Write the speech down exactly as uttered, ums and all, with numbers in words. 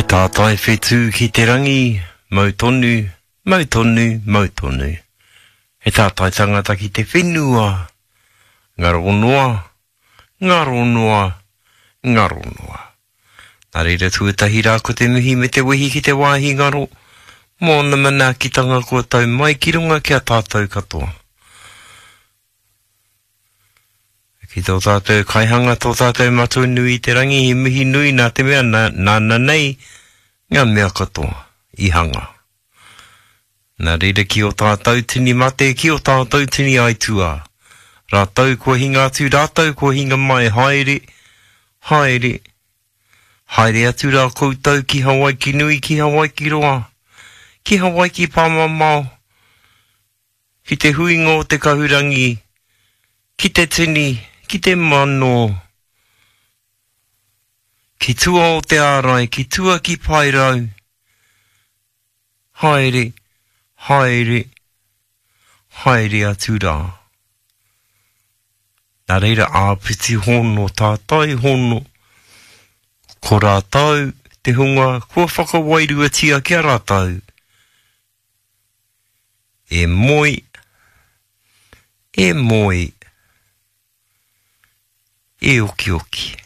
He tātai whetū ki te rangi, mau tonu, mau tonu, mau tonu. He tātai tangata ki te whenua, ngaro noa, ngaro noa, ngaro noa. Nā reira tuatahi rā ko te mihi me te wehi ki te wāhi ngaro, mō ōna manaakitanga kua tau mai ki runga ki a tātou katoa. Ki tō tātou kaihanga, tō tātou matua nui i te rangi, he mihi nui nā te mea nā, nāna nei ngā mea katoa i hanga. Nā reira ki o tātou tini mate, ki o tātou tini aituā. Rātou kua hinga atu, rātou kua hinga mai, haere, haere, haere atu rā koutou ki Hawaiki nui, ki Hawaiki roa, ki Hawaiki pāmamao, ki te huinga o te kahurangi, ki te tini, ki te mano, ki tua o te ārai, ki tua ki Paerau. Haere, haere, haere atu rā. Nā reira āpiti hono, tātai hono, ko rātou te hunga kua whakawairuatia ki a rātou. E moe, e moe, e okioki.